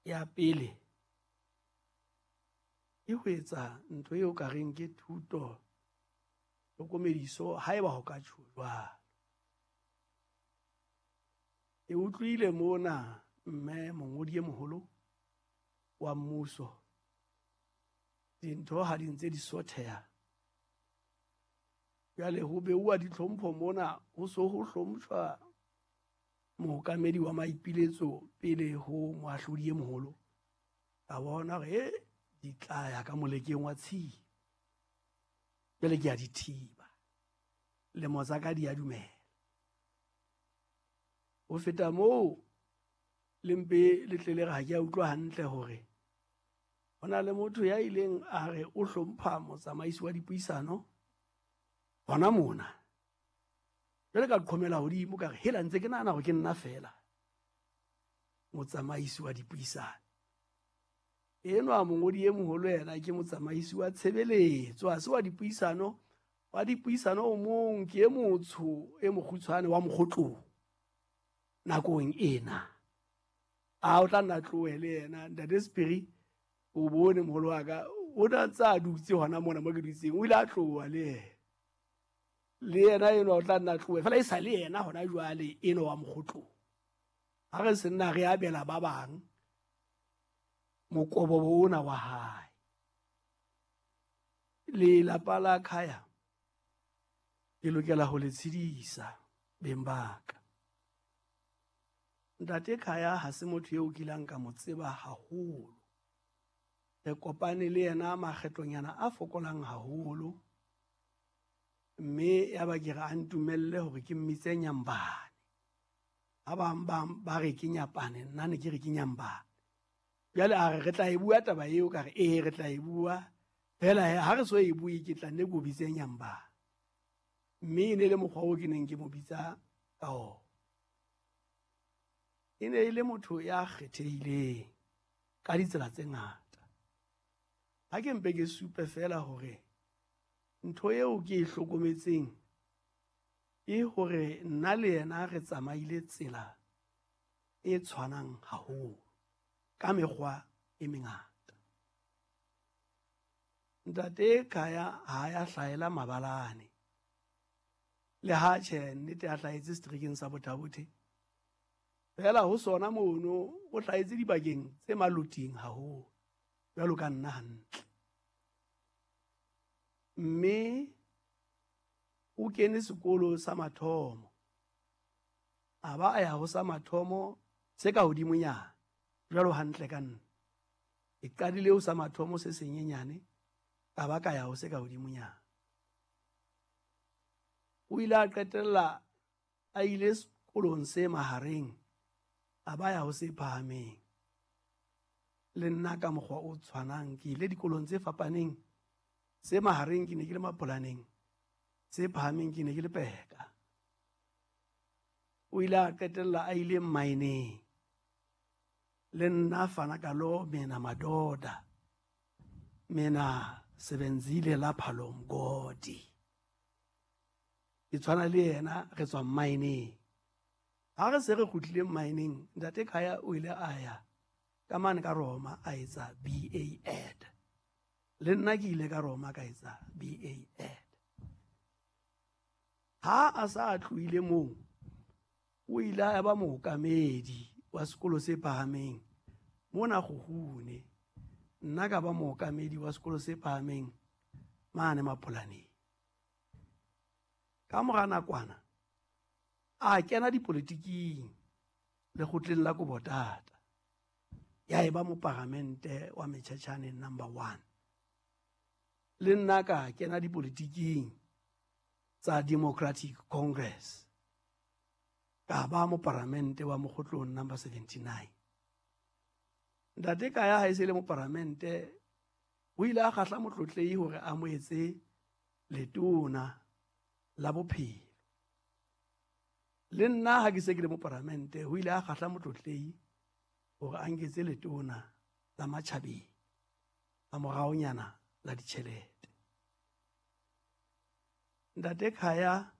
Ya pele ke ho etsa ntho eo ka reng ke thuto hlokomediso haeba ho ka tjho jwalo. Ke utlwile mona mme mongodi e moholo wa mmuso dintho ha di ntse di sotheha. Jwale ho beuwa ditlhompho mona ho so ho hlompshwa mookamedi wa maipiletso pele ho moahlodi e moholo. Ka bona hore e di tla ya ka molekeng wa tshipi. Jwale ke a di thiba. Lemo tsa ka di a dumela. Ho feta moo le mpe le tle le re ha ke a utlwa hantle hore ho na le motho ya ileng a re o hlompha motsamaisi wa dipuisano hona mona. Jwale ka qhomela hodimo ka re hela ntse ke nahana hore ke nna feela motsamaisi wa dipuisano. Enwa mongodi e moholo yena ke motsamaisi wa tshebeletso, ha se wa dipuisano. Wa dipuisano o mong ke e motsho e mokgutshwane wa mokgotlong nakong ena. A o tla nna tlohe le yena ntate Sephiri, o bone moholo wa ka o na ntse a dutse hona mona mo ke dutseng, o ile a tloha le yena. Le yena enwa o tla nna tlohe fela e sa le yena hona jwale enwa wa mokgotlong. Ha re se nna re abela ba bang mokobobo ona wa hae. Lelapa la Khaya ke lokela ho le tshedisa beng ba ka. Ntate Khaya ha se motho eo kileng ka mo tseba haholo. Re kopane le yena makgetlonyana a fokolang haholo, mme ya ba ke re a ntumelle hore ke mmitse Nyambane. Ha bang ba re ke Nyapane, nna ne ke re ke Nyambane. Jwale a re re tla e bua taba eo, ka re ee re tla e bua. Fela ha re so e bue ke tla nne ke o bitse Nyambane. Mme e ne le mokgwa oo ke neng ke mo bitsa ka ona. E ne e le motho ya kgethehileng ka ditsela tse ngata. Ha ke mpe ke supe fela hore ntho eo ke e hlokometseng ke hore nna le yena re tsamaile tsela e tshwanang haholo ka mekgwa e mengata. Ntate Khaya ha ya hlahela mabalane. Le ha tjhe nnete a hlahetse seterekeng sa Botha-Bothe. Fela ho sona mono o hlahetse dibakeng tse maloting haholo jwalo ka nna hantle. Mme o kene sekolo sa mathomo. A ba a ya ho sa mathomo se ka hodimonyana jwalo hantle ka nna. E qadile ho sa mathomo se senyenyane, ka ba ka ya ho se ka hodimonyana. O ile a qetella a ile sekolong se mahareng, a ba ya ho se phahameng. Le nna ka mokgwa o tshwanang ke ile dikolong tse fapaneng. Se mahareng ke ne ke le Mapolaneng, se phahameng ke ne ke le Peka. O ile a qetella a ile mmaeneng. Le nna fana ka lo mena madoda, mena sebenzile lapha lo mgodi. Ke tshwana le yena re tswa mmaeneng. Ha re se re kgutlile mmaeneng, ntate Khaya o ile a ya ka mane ka Roma a etsa BA Ed. Le nna ke ile ka Roma ka etsa BA Ed. Ha a sa tlohile moo, o ile a ba mookamedi wa sekolo se phahameng mona Kgukgune. Nna ka ba mookamedi wa sekolo se phahameng mane Mapolaneng. Ka mora nakwana a kena dipolitiking lekgotleng la Kobotata. Ya eba moparamente wa Mechechane number 1. Le nna ka kena dipolitiking tsa Democratic Congress. Ka ba moparamente wa mokgotlong number 79. Ntate Khaya ha e se le moparamente, o ile a kgahla motlotlehi hore a mo etse letona la bophelo. Le nna ha ke se ke le moparamente, o ile a kgahla motlotlehi hore a nketse letona la matjhabeng a moraonyana la ditjhelete. Ntate Khaya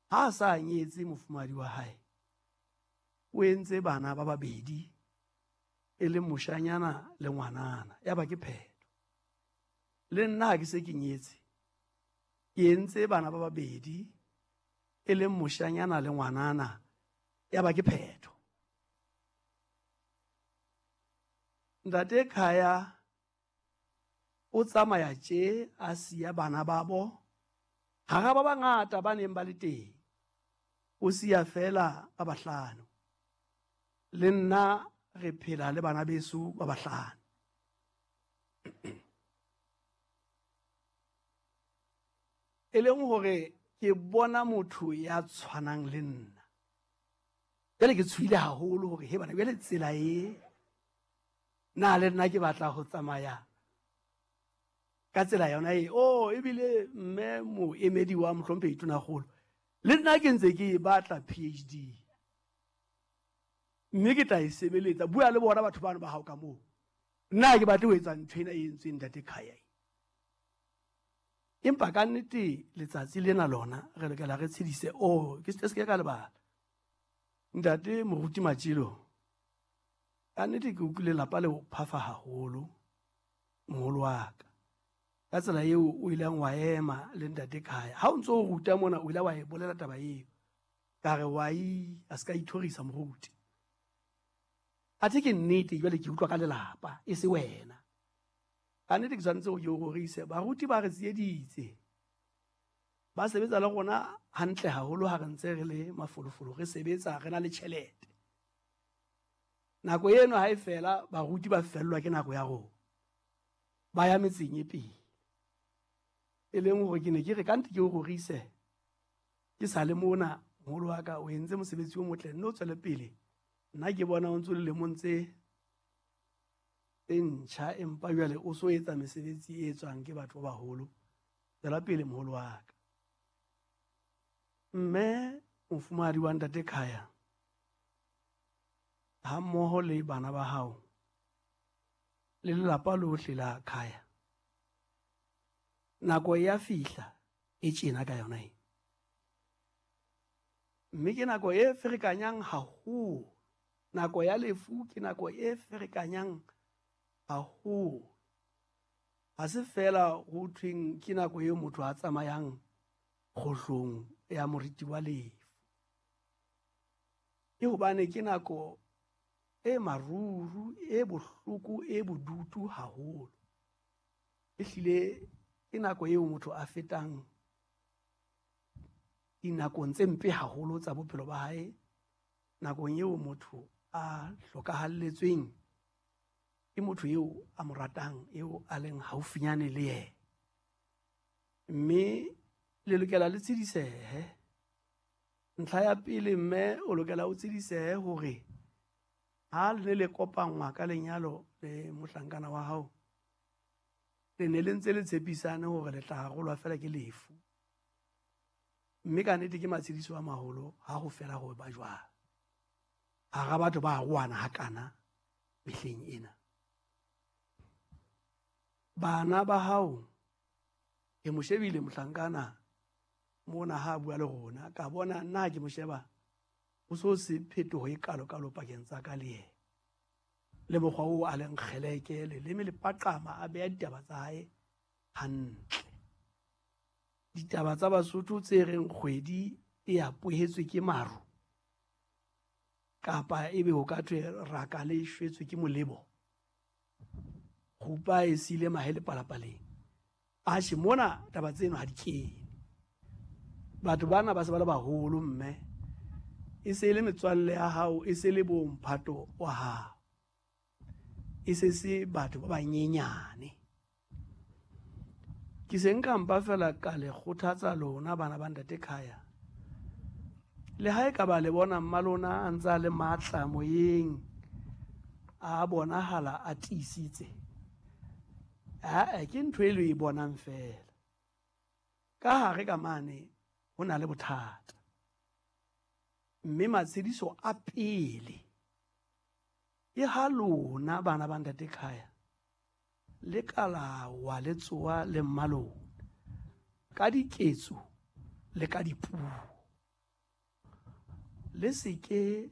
ha a sa nyetse mofumahadi wa hae, o entse bana ba babedi e leng moshanyana le ngwanana, ya ba ke phetho. Le nna ha ke se ke nyetse, ke entse bana ba babedi, e leng moshanyana le ngwanana, ya ba ke phetho. Ntate Khaya o tsamaya tje a siya bana babo hara ba bangata ba neng ba le teng, o siya feela ba bahlano. Le nna re phela le bana beso ba bahlano. E leng hore ke bona motho ya tshwanang le nna. Jwale ke tshohile haholo hore he bana jwale tsela e na le nna ke batla ho tsamaya ka tsela yona e. Oh, ebile mme moemedi wa mohlomphehi Tonakgolo, le nna ke ntse ke e batla PhD. Mme ke tla e sebeletsa. Bua le bona batho bano ba hao ka moo. Nna ha ke batle ho etsa ntho ena e entsweng ntate Khaya. Empa ka nnete letsatsi lena lona re lokela re tshedise. Oh, ke se ke ka lebala. Ntate Moruti Matjelo, ka nnete ke utlwile lapa le o phafa haholo, moholo wa ka. Ka tsela eo o ileng wa ema le ntate Khaya. Ha o ntso o ruta mona, o ile wa e bolela taba eo. Ka re wa i, a se ka ithorisa moruti. Athe ke nnete jwale ke utlwa ka lelapa, e se wena. Ka nnete ke tshwanetse hore ke o rorise. Baruti ba re tsieditse. Ba sebetsa le rona hantle haholo ha re ntse re le mafolofolo, re sebetsa re na le tjhelete. Nako eno ha e fela, baruti ba fellwa ke nako ya rona. Ba ya metseng e pele. E leng hore ke ne ke re ka nnete ke o rorise. Ke sa le mona, moholo wa ka o entse mosebetsi o motle, nne o tswele pele. Nna ke bona o ntso le lemong tse ntjha, empa jwale o so etsa mesebetsi e etswang ke batho ba baholo. Tswela pele moholo wa ka. Mme mofumahadi wa ntate Khaya ha mmoho le bana ba hao le lelapa lohle la Khaya, nako ya fihla e tjena ka yona e. Mme ke nako e ferekanyang haholo. Nako ya lefu ke nako e ferekanyang haholo. Ha se feela ho thweng ke nako eo motho a tsamayang kgohlong ya moriti wa lefu. Ke hobane ke nako e maruru, e bohloko, e bodutu haholo. Ehlile ke nako eo motho a fetang dinakong tse mpe haholo tsa bophelo ba hae, nakong eo motho a hlokahalletsweng ke motho eo a mo ratang, eo a leng haufinyane le yena. Mme le lokela le tsedisehe. Ntlha ya pele, mme o lokela o tsedisehe hore ha le ne le kopanngwa ka lenyalo le mohlankana wa hao, le ne le ntse le tshepisane hore le tla arolwa feela ke lefu. Mme ka nnete ke matshediso a maholo ha ho fela ho ba jwalo. Hara batho ba arohana hakana mehleng ena. Bana ba hao, ke mo shebile mohlankana mona ha a bua le rona, ka bona nna ha ke mo sheba ho so se phetoho e kalo-kalo pakeng tsa ka le yena. Le mokgwa oo a leng kgeleke, leleme le paqama, a beha ditaba tsa hae hantle. Ditaba tsa Basotho tse reng kgwedi e apohetswe ke maru, kapa ebe ho ka thwe raka le shwetswe ke molebo, kgupa e siile mahe le palapaleng. Atjhe, mona taba tseno ha di kene. Batho bana ba se ba le baholo, mme e se le metswalle ya hao, e se le bo mphato wa hao, e se se batho ba banyenyane. Ke se nka mpa fela ka le kgothatsa lona bana ba ntate Khaya. Le ha e ka ba le bona mma lona a ntse a le matla moyeng, a bonahala a tiisitse. Aa, ke ntho e le e bonang fela. Ka hare ka mane ho na le bothata. Mme matshediso a pele ke ha lona bana ba ntate Khaya le ka la wa le tsoa le mmalona ka diketso le ka dipuo. Le se ke